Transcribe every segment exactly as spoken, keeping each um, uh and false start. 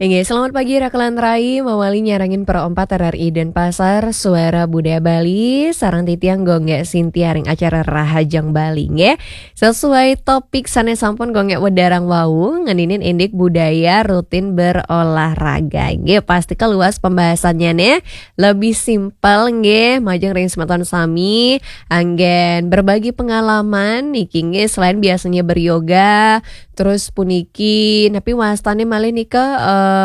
Nggih, selamat pagi Rakelan Rai, mawali nyarengin Pro empat R R I Denpasar, Suara Budaya Bali, sareng titiang Gung Gek Sintia ring acara Rahajeng Bali, nggih. Sesuai topik sane sampun Gung Gek wedharang wau, ngeninin indik budaya rutin berolahraga. Nggih, pasti keluas pembahasannya nih, lebih simpel nggih, majeng ring semeton sami, anggen berbagi pengalaman niki nggih, selain biasanya beryoga, terus puniki, napi wastane malih nika, eh,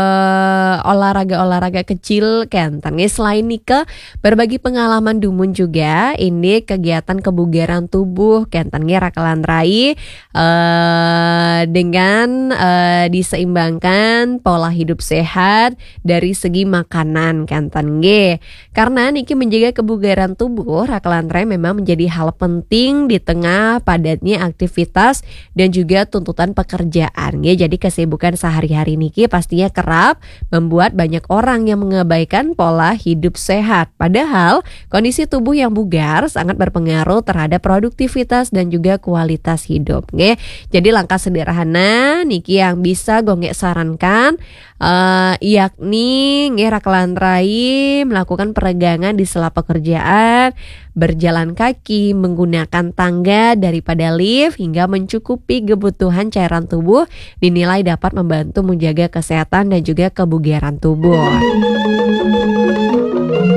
olahraga-olahraga kecil kenten nggih. Selain nika, berbagi pengalaman dumun juga, ini kegiatan kebugaran tubuh kenten nggih Rakelan Rai, eh, dengan, eh, diseimbangkan pola hidup sehat dari segi makanan kenten nggih. Karena niki menjaga kebugaran tubuh, Rakelan Rai memang menjadi hal penting di tengah padatnya aktivitas dan juga tuntutan pekerjaan, ya. Jadi kesibukan sehari-hari niki pastinya kerap membuat banyak orang yang mengabaikan pola hidup sehat. Padahal kondisi tubuh yang bugar sangat berpengaruh terhadap produktivitas dan juga kualitas hidup, nggih. Jadi langkah sederhana niki yang bisa Gung Gek sarankan, eh, yakni nggih Rakelan Rai melakukan peregangan di sela pekerjaan, berjalan kaki, menggunakan tangga daripada lift, hingga mencukupi kebutuhan cairan tubuh dinilai dapat membantu menjaga kesehatan dan juga kebugaran tubuh.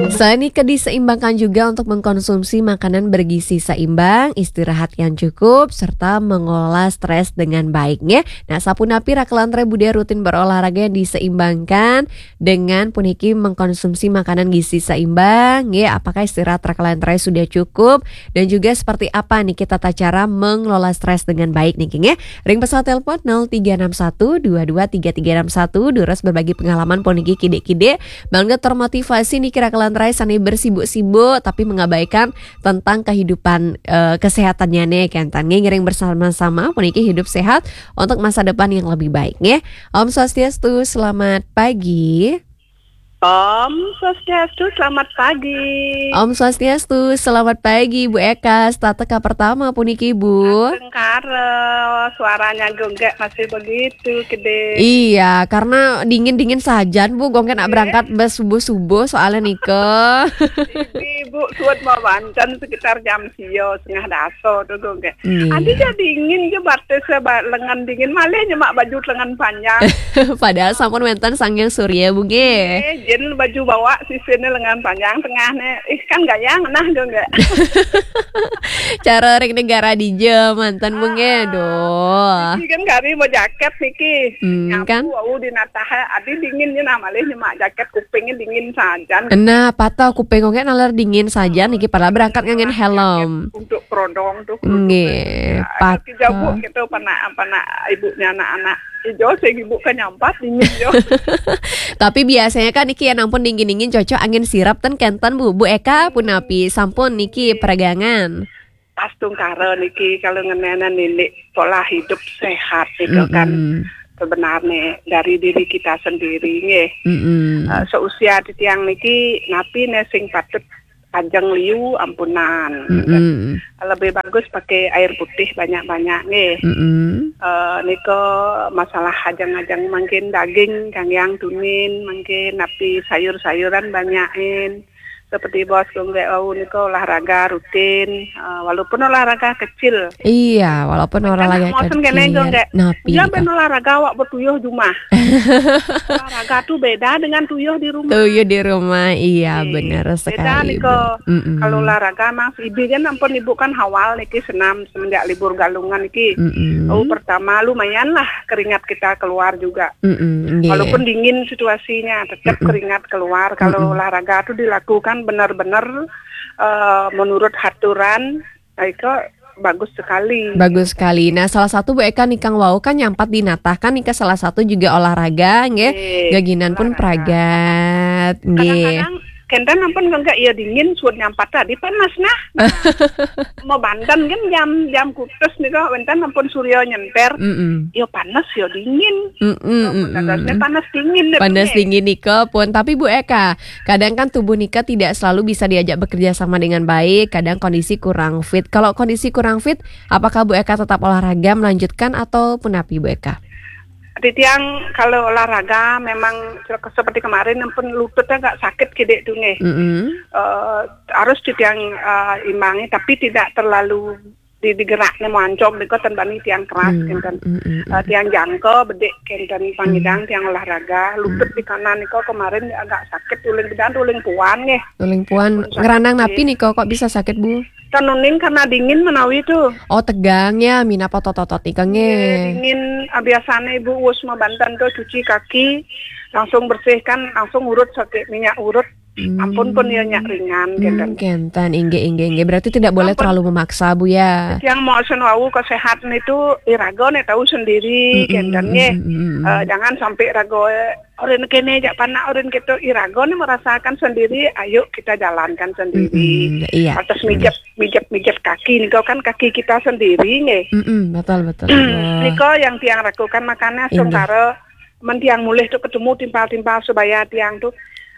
Selain itu diseimbangkan juga untuk mengkonsumsi makanan bergizi seimbang, istirahat yang cukup, serta mengelola stres dengan baik, nggih. Nah, sapunapi Rakelan Rai budaya rutin berolahraga yang diseimbangkan dengan puniki mengkonsumsi makanan gizi seimbang, nggih, apakah istirahat Rakelan Rai sudah cukup, dan juga seperti apa niki tata cara mengelola stres dengan baik niki, nggih. Ring pesawat telepon nol tiga enam satu dua dua tiga tiga enam satu, durus berbagi pengalaman puniki kidik-kidik, bangda termotivasi niki Rakelan Rai sane bersibuk-sibuk tapi mengabaikan tentang kehidupan, eh, kesehatannya nih, kenten nggih. Ngiring bersama-sama puniki hidup sehat untuk masa depan yang lebih baik, nggih. Om Swastiastu, selamat pagi. Om Swastiastu, selamat pagi. Om Swastiastu, selamat pagi, Bu Eka. Setata ka pertama puniki, Bu. Astungkara, suaranya Gung Gek masih begitu, kede. Iya, karena dingin-dingin sajan, Bu. Gung Gek nak berangkat bes subuh-subuh, soalnya nika. Ibu, suat mau banten sekitar jam sio, setengah daso tuh, Gung Gek. Iya. Adi jadi dingin je batis, ba-, lengan dingin, malih nyemak baju lengan panjang. Padahal sampun wenten Sang Hyang Surya, Bu, nggih. Eh, jen baju bawah sisine lengan panjang tengahne. Ih, kan gaya ngenah, Gung Gek. Cara ring negara dija manten, Bu, nggih. Ah. Duh. Niki kan kari mau jaket niki. Hmm, nyapu, kan? Wau di natahe, adi dingin je nah, malih nyemak jaket kupingnya dingin sajan. Nah, patah kuping Gung Gek naler dingin sajan niki, padahal berangkat nganggen helm. Jaket untuk prodong tuh, kerudung. Nggih, nah, patah. Kerja, Bu, gitu, panak, panak ibunya anak-anak. Ijo sing ibu kan nyampat dingin, yo. Tapi biasanya kan niki ya nampun dingin-dingin cocok angin sirap ten kenten, Bu. Bu Eka punapi sampun niki peregangan? Astungkara niki kalau ngenenen nini pola hidup sehat itu kan sebenarnya dari diri kita sendiri, nggih. Mm-mm. Eh, seusia titiang niki napi ne sing patut ajeng liu ampunan. Mm-mm. Lebih bagus pakai air putih banyak-banyak, nggih. Mm-mm. Eh, nika masalah ajeng-ajeng mangkin daging kanggiang tunin, mangkin napi sayur-sayuran banyakin. Seperti Bos Gung Gek wau nika olahraga rutin, eh, walaupun olahraga kecil. Iya, walaupun olahraga kecil. Kan mosen kene, Gung Gek. Napi nika? Jangan olahraga awak betuyuh jumah. Olahraga tuh beda dengan tuyuh di rumah. Tuyuh di rumah, iya, bener sekali, Bu. Beda nika. Mm-mm. Kalau olahraga, Mas, ibu kan ampun, ibu kan hawal niki senam semenjak libur galungan niki. Mm-mm. Oh, pertama lumayan lah keringat kita keluar juga. Mm-mm, nggih. Walaupun dingin situasinya, tetap keringat keluar. Kalau olahraga tuh dilakukan benar-benar, eh, menurut aturan, nah, itu bagus sekali. Bagus sekali. Nah, salah satu Bu Eka nikang wau kan nyampat dinatah kan nika salah satu juga olahraga, nggih. Eh, olahraga. Geginan pun pragat, nggih. Kadang-kadang kenten ampun enggak ya dingin, suut nyampat tadi panas nah. Mau banten kan jam, jam kutus nika, wenten ampun surya nyenter. Mm-mm. Ya panas, ya dingin. Mm-mm, mm-mm. Panas dingin deh. Panas dingin nika pun. Tapi Bu Eka, kadang kan tubuh nika tidak selalu bisa diajak bekerja sama dengan baik, kadang kondisi kurang fit. Kalau kondisi kurang fit, apakah Bu Eka tetap olahraga melanjutkan atau punapi, Bu Eka? Titiang kalau olahraga memang se-, seperti kemarin pun lututnya agak sakit kidik tu nggih. Mm-mm. Eh, harus titiang eh, imbangi, tapi tidak terlalu di digerak ni mancog nika ten bani tiang keras Hmm, kenten. mm-mm. Eh, tiang jangka bedik kenten pangidang tiang olahraga, lutut di kanan nika kemarin agak sakit uling bedan uling puan nggih. Uling puan. Sakit. Ngeranang napi nika kok bisa sakit, Bu? Tanuning karena dingin menawi tu. Oh, tegang ya, minapa totot-totot nika nggih. Dingin, ah, biasanya ibu wus mabantan tu cuci kaki, langsung bersihkan, langsung urut sakit minyak urut. Ampun pun ya nyak ringan Hmm, kenten. Kenten, inggih, inggih, inggih. Berarti tidak boleh Ampun. Terlalu memaksa, Bu, ya. Yang mau sen wau kesehatan itu iraga ni tahu sendiri kenten nggih. Mm-mm. Eh, jangan sampai raga eh, orang kene jak panak orang kita iraga ni merasakan sendiri, ayo kita jalankan sendiri. Mm-mm, iya. Atas mijep mijep mijep kaki ni kau kan kaki kita sendiri nggih. Mm-mm, betul, betul, betul. Niko yang tiang rakukan makanya Inggih. Songkara men tiang mulih tu ketemu timpal-timpal sebaya tiang tu.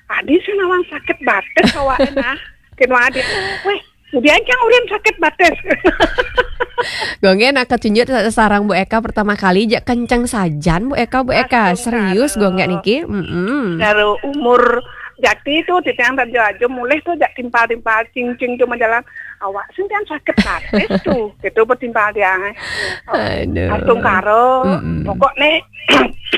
Adi senawang sakit batis awak nah. Kena adi. Weh, kemudian yang orang sakit batis. Gongge nak kecunjut sarang Bu Eka pertama kali jak kenceng sajan Bu Eka, Bu Eka. Langsung Serius karo. Gongge niki. Mm-mm. Dari umur jati tu titiang tak aja mulih tu jak timpal-timpal cing-cing tu menjalan. Awak sentian sakit batis tu. Itu bertimpal tiang. Eh. Aduh. Langsung karo. Mm-mm. Pokok ni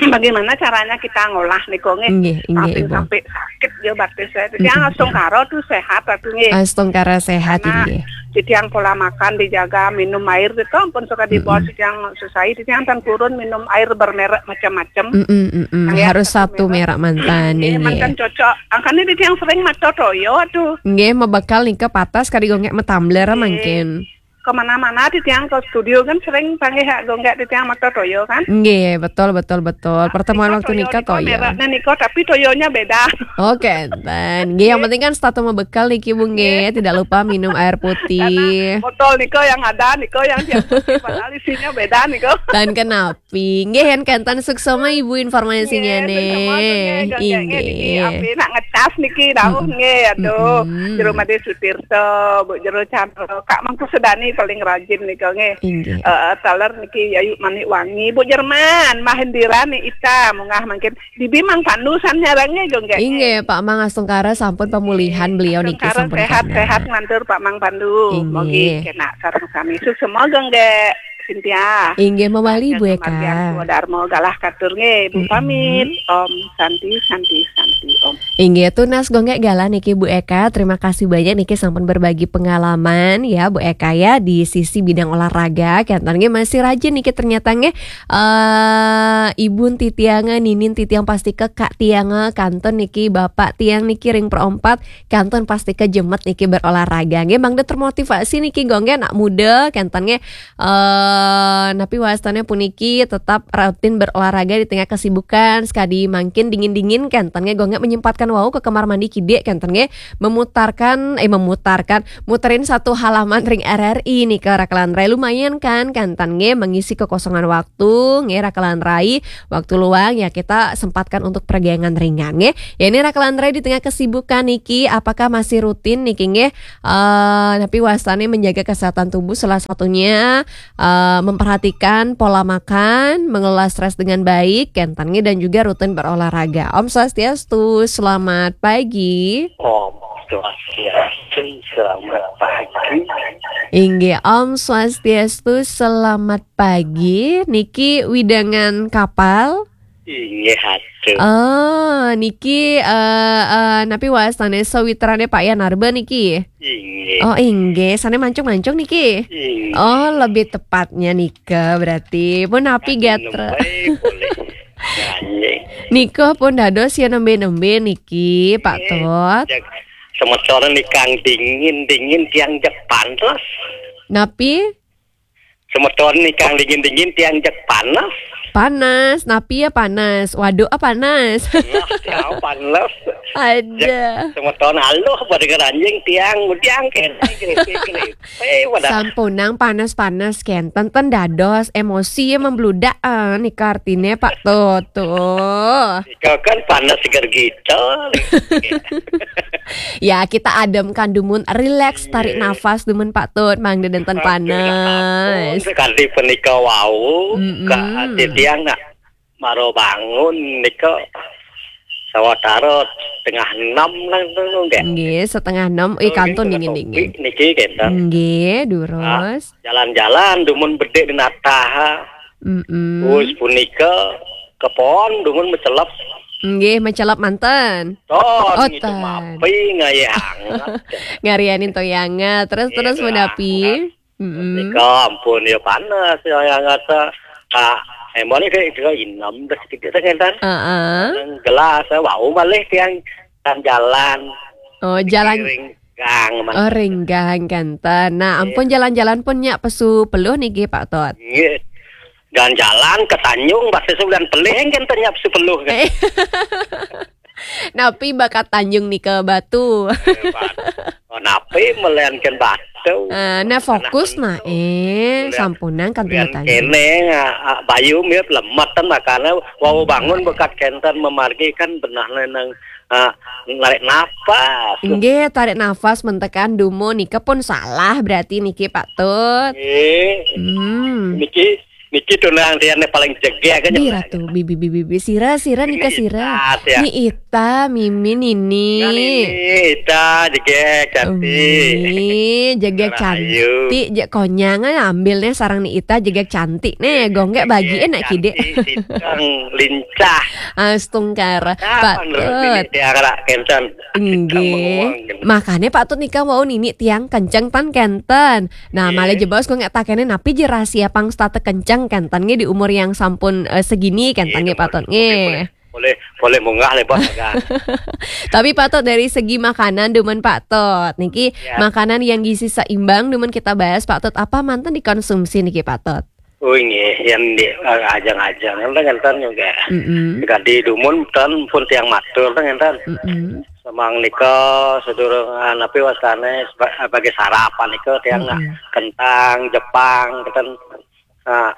bagaimana caranya kita ngolah niko nggih. Nggih, nggih, Sampai Ibu. Sampai sakit dia batis saya. Titiang langsung karo tu sehat tu nggih. Astungkara sehat Karena nggih. titiang pola makan dijaga, minum air tu ampun suka di bawah titiang susah. Titiang tan kurun minum air bermerek macam-macam. Mm-mm, mm-mm. Yang Harus satu satu merek mantan Nggih, nggih. mantan cocok. Angkanya titiang sering mata toyo tu. Nggih, mebekal nika patas kadi Gongge metumbler mangkin. Kemana-mana titiang ke studio kan sering panggil hak Gongge titiang mata toyo kan. Nggih, betul, betul, betul. Pertemuan waktu nika toyo. Mereknya niko tapi toyonya beda. Oke, dan nggih, yang penting kan setatu mebekal niki Bu nggih, tidak lupa minum air putih. Botol niko yang ada niko yang tiap padahal isinya beda niko. Dan kenapa? Nggih, yen kenten suksma Ibu informasinya Nggih, nih. suksma, nggih, nggih, niki Inggih. Api nak ngecas niki dauh nggih, aduh. Jero Made Sutirta, Bu Jero Chandra, Kak Mangku Sedani paling rajin nika nggih. Inggih. Eh, taler niki Yayu Manik Wangi, Bu Jerman, Mahendira ni Ita, mungah mangkin. Bibi Mang Pandu san nyarang nggih, Gongge. Inggih, Pak Mang Astungkara sampun pemulihan beliau niki Astungkara sampun sehat, kena. Sehat ngantur Pak Mang Pandu. Inggih. Mogi kena sareng sami. Suksma Gongge Cynthia. Inggih, mawali Bu Kemargian Eka. Swadarma galah katur nggih, Bu Mm-mm. pamit. Om Santi, Santi, Santi, Om. Inggih, tunas Gongge galah niki Bu Eka. Terima kasih banyak niki sampun berbagi pengalaman ya Bu Eka ya di sisi bidang olahraga. Kenten nggih masih rajin niki ternyata nggih. Eh, Ibu titiang, Ninin titiang pasti ke Kak tiang, kantun niki Bapak tiang niki ring perempat, kantun pasti ke jemet niki berolahraga. Nggih, mangda termotivasi niki Gongge anak muda, kenten nggih. Eh, napi wastane puniki tetap rutin berolahraga di tengah kesibukan, sekadi mangkin dingin-dingin kenten nggih Gongge menyempatkan wau ke kamar mandi kidik kenten nggih memutarkan, eh, memutarkan, muterin satu halaman ring R R I nika Raka lan Rai lumayan kan kenten nggih mengisi kekosongan waktu nggih Raka lan Rai, waktu luang ya kita sempatkan untuk peregangan ringan nggih. Ya ini Raka lan Rai di tengah kesibukan niki apakah masih rutin niki nggih eh, napi wastane menjaga kesehatan tubuh salah satunya eh, memperhatikan pola makan, mengelola stres dengan baik, kenten nggih dan juga rutin berolahraga. Om Swastiastu, selamat pagi. Om Swastiastu, selamat pagi. Inggih, Om Swastiastu, selamat pagi. Niki wewidangan Kapal. Inggih, aduh. Oh, niki eh eh, napi wastane sawitrane Pak Yanarba niki? Inggih. Oh, inggih, sane mancung-mancung niki. Inggih. Oh, lebih tepatnya nika berarti. Pun napi gatra. Nembe boleh. Nyanyi. Nika pun dados ya nembe-nembe niki, Pak Tot. Jak semeton nikang dingin-dingin tiang jek panas. Napi? Semeton nikang dingin-dingin tiang jek panas. Panas, napi ya panas? Waduk ah panas. Nah, tiang panas. Ada. Semeton aluh pada keranjing tiang, tiang kene, kene, kene. Eh, wadah. Sampunang panas-panas kenten ten dados emosi ya membludak ah, nika artine Pak Tot tuh. Ika kan panas seger gitu. Ya kita ademkan dumun, relax, tarik nafas dumun Pak Tot, mangda denten panas. Sekali penika wau, Mm-mm. ka ati tiang nak Maro bangun nika sawatara setengah enam lah tu, nggih. Nggih, setengah enam. Eh, nggih, kantun setengah dingin-dingin. Niki kenten. Nggih, durus. Ah, jalan-jalan dumun bedik di natah. Mm-mm. Terus punika kepon dumun mecelep. Nggih, mecelep manten. Ton, oh, gitu, tan. Mapi ngayah anget. Ngarianin toyangan. Terus, iya, terus menapi. Anget. Mm-mm. Nika ampun ya panas ya, yang kata, ah, emang ini kayak inem deh sedikit, kan? Heeh. Yang gelas, eh, wau malih tiang kan jalan. Oh, jalan. Renggang, man. Oh, renggang, kenten. Nah, iya, ampun, jalan-jalan pun nyak pesu peluh niki, Pak Tot. Iya. Dan jalan ke Tanjung, batis bulan pelih, kan, nyak pesu peluh, kan? Eh. Napi bakat Tanjung nika batu? Eh, bat-, oh, napi meliankan batu? Eh, nah, fokus, nah, eh, sampunang kan melian Tanjung. Kene, ah, ah, bayu mirip lemet kan makanya wau bangun bekat kenten memargi kan benah nang, ah, narik nafas. Nggih, tarik nafas mentekan dumo nika pun salah berarti niki, Pak Tut. Nggih. Hmm. Niki Niki tunang tiang paling jegeg aja. Di Ratu, bibi, bibi, bibi. Sira, sira, nika sira. Ni Ita, ya. Ni Ita, Mimin ini. Ngan ini, Ita, jegeg, cantik. Umi, jegeg cantik, jegeg konyang, eh, ambil nih sarang ni Ita, jegeg cantik nih, gonggek bagi enak kide. Cantik, sidang, lincah. Astungkara. Nah, Pak Tut. Tiang rak kenten. Nggih. Makanya Pak Tut nika wau nini tiang kenceng tan kenten. Nah, nggih. Malih jebos ku nggak takene napi je rahasia pang start kenceng kenten nggih di umur yang sampun, eh, segini kenten nggih, Pak Tut nggih. Boleh, boleh munggah le, Bos, kan. Tapi Pak Tut dari segi makanan dumun Pak Tut. Niki makanan yang gizi seimbang dumun kita bahas Pak Tut apa manten dikonsumsi niki Pak Tut? Oh, nggih, yang di, eh, ajang-ajang. Enten, enten juga. Mm-mm. Jika di dumun, ten pun tiang matur, enten. Mm-mm. Semang nika sedurung, ah, napi wastane seba-, sebagai sarapan nika tiang nak kentang, Jepang, kenten, ah,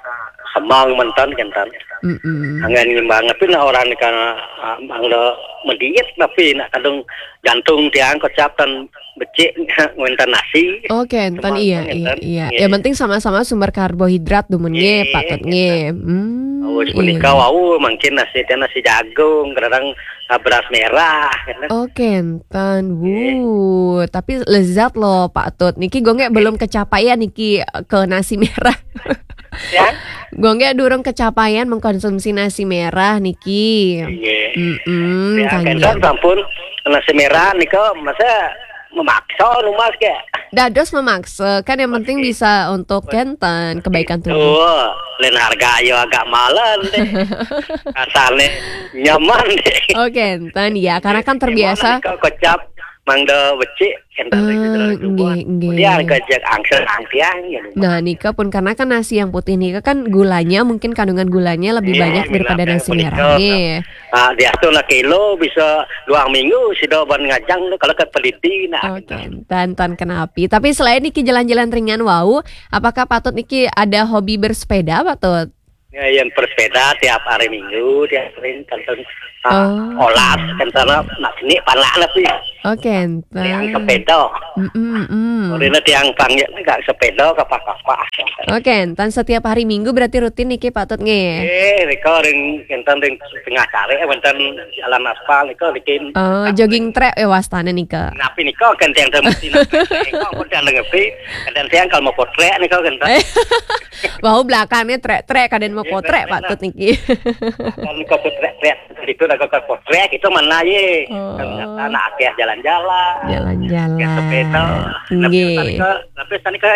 semang manten kenten. Mm-mm. Angin ngimbang, tapi nak orang nika, ah, mangda mediet, tapi nak kadung jantung tiang kocap tan becik ngenten nasi. Oh, kenten, iya, iya, iya. Yang penting sama-sama sumber karbohidrat dumun nggih, Pak Tut nggih. Hmm, oh, iya. Punika wau mungkin nasi teh nasi jagung, kadang, ah, beras merah, gitu. Oh, kenten. Wuh, tapi lezat loh, Pak Tut. Niki gonggek belum kecapaian niki ke nasi merah. Ya? Gonggek durung kecapaian mengkonsumsi nasi merah niki. Nggih. Mm-mm, ya, kenten sampun nasi merah nika masa memaksa numas ke. Dados memaksa, kan yang penting bisa untuk kenten, kebaikan tubuh. Tuh, lain harga ayo agak malen deh. Kasarnya nyaman deh. Oh, kenten, ya, karena kan terbiasa. Gimana nih, kok kocap, mangda becik, kenten lagi terlalu coba. Nggih, nggih. Kemudian kejak angsel angsiang, ya. Nah, nika pun karena kan nasi yang putih nika kan gulanya, mungkin kandungan gulanya lebih banyak daripada nasi merah. Nggih. Ah, diatur lah kilo bisa dua minggu, sida ban ngajang tu, kalau ke peliti nak. Oke, tan, tan kenapi. Tapi selain niki jalan-jalan ringan wau, apakah Pak Tut niki ada hobi bersepeda, Pak Tut? Ya, yang bersepeda tiap hari Minggu, tiap hari kenten, ah, olas, kenten nak sini panak lah sih. Oke, kenten. Yang sepeda. Mm-mm, mm. Orina tiang panggil enggak sepeda kapah-kapah. Oke, kenten setiap hari Minggu berarti rutin niki Pak Tut nggih. Eh, nika ring, kenten ring tengah tarik, wonten jalan aspal nika niki. Oh, jogging track, eh, wastane nika. Napi nika kan tiang temesti nak. Kok pun tiang ngerti, kenten tiang kalau mau potret nika kenten. Wau belakangnya trek-trek kaden mau potret Pak Tut niki. Kan nika potret-trek itu nak ke potret itu mana ye? Oh. Ternyata nak akeh jalan-jalan. Jalan-jalan. Akeh sepeda. Nggih. Tapi tadi ke, tapi tadi ke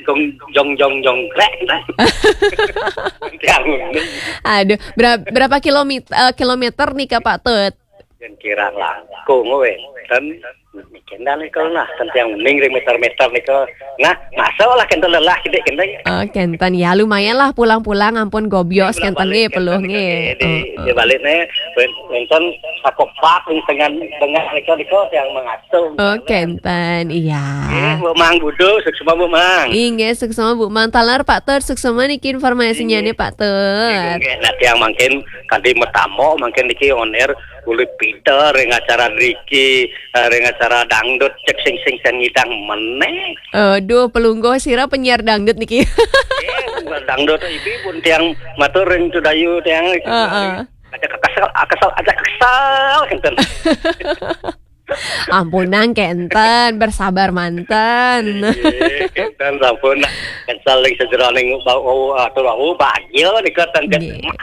jong, jong, jong, jongkrek, gitu. Tiang. Aduh, bera-, berapa kilometer, eh, kilometer nih ke Pak Tut? Yang kira langkung, weh. Dan kendal nih kalau nah, tentang mending ring meter-meter nih kalau nah, masuk lah kendal lelah gitu kendal. Oh, kenten ya, lumayan lah pulang-pulang ampun gobios kenten nggih peluh nggih. Di, di balik nih, wonten apa pak dengan dengan nika nika yang mengatur. Oh, kenten, iya. Nggih, Bu Mang Budu, suksma Bu Mang. Inggih, suksma Bu Mang. Taler Pak Tut, suksma niki informasinya nih Pak Tut. Nggih, nah tiang mangkin kadi metamo, mangkin niki on air kulit pinter ring acara driki, eh, ring acara dangdut, cek sing sing sing ngidang meneh. Aduh, pelungguh sira penyiar dangdut niki. Eh, dangdut ibu pun tiang matur ring tudayu tiang. Heeh. Aja kesel, kesel, aja kesel, enten. Ampunang kenten, bersabar manten. Iya, kenten sampun kesel ring sejeroning bau, bau, atur bau bahagia nih kenten. Iya.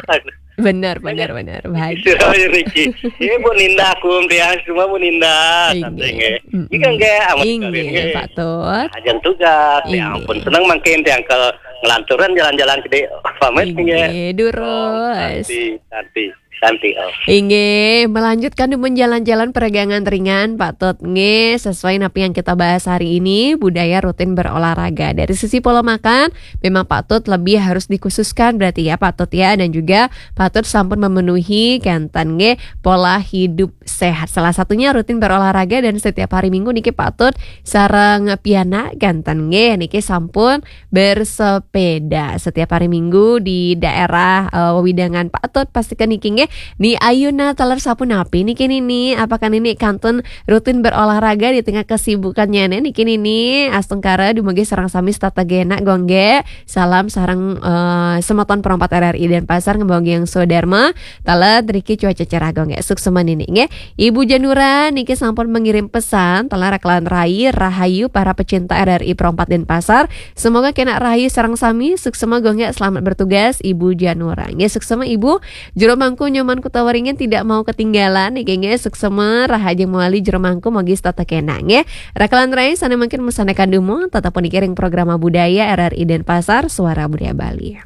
Benar, benar, benar. Bahagia. Sira niki. Iya, Bu Ninda, aku tiang semua Bu Ninda. Inggih. Santai nggih. Mm-mm. Iki nggih, amat Inggih, sekali nggih. Pak Tut. Ajeng tugas, ya Inggih. Ampun, seneng mangkin tiang ke ngelanturan jalan-jalan gede. Pamit nggih. Inggih, durus. Santi, santi, santi. Oh. Inggih, melanjutkan dumun jalan-jalan peregangan ringan, Pak Tut. Nggih, sesuai napi yang kita bahas hari ini, budaya rutin berolahraga. Dari sisi pola makan, memang Pak Tut lebih harus dikhususkan berarti ya, Pak Tut ya. Dan juga Pak Tut sampun memenuhi kenten nggih pola hidup sehat. Salah satunya rutin berolahraga dan setiap hari Minggu niki Pak Tut sareng pianak kenten nggih niki sampun bersepeda setiap hari Minggu di daerah eh, wewidangan Pak Tut. Pastikan niki nggih. Ni ayuna taler sapunapi niki nini, apakah nini kantun rutin berolahraga di tengah kesibukannya niki nini? Astungkara dumugi sareng sami setata genah gongge. Salam sareng eh, semeton perompat R R I Denpasar ngembanggi yang Sodarma. Taler riki cuaca cerah gongge. Suksema nini nggih. Ibu Janura niki sampun mengirim pesan, taler kelawan rai rahayu para pecinta R R I perompat Denpasar. Semoga kena rahayu sareng sami, suksema gongge, selamat bertugas Ibu Janura. Nggih, suksema Ibu. Jero Mangku Nyoman Kuta Waringin tidak mau ketinggalan niki nggih, suksema rahajeng mawali Jero Mangku, mogi setata kena nggih. Rakalan rai sane mangkin mesanekan dumun, tetep puniki ring programa budaya R R I Denpasar, Suara Budaya Bali.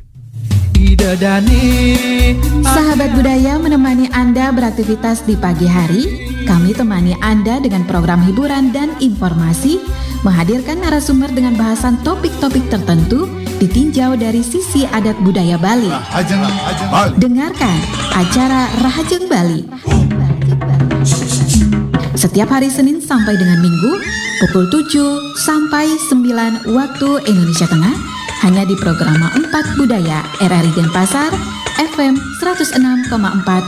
Sahabat budaya menemani Anda beraktivitas di pagi hari. Kami temani Anda dengan program hiburan dan informasi, menghadirkan narasumber dengan bahasan topik-topik tertentu, ditinjau dari sisi adat budaya Bali. Rahajeng Bali. Dengarkan acara Rahajeng Bali setiap hari Senin sampai dengan Minggu pukul tujuh sampai sembilan waktu Indonesia Tengah, hanya di Programa empat Budaya R R I Denpasar, F M seratus enam koma empat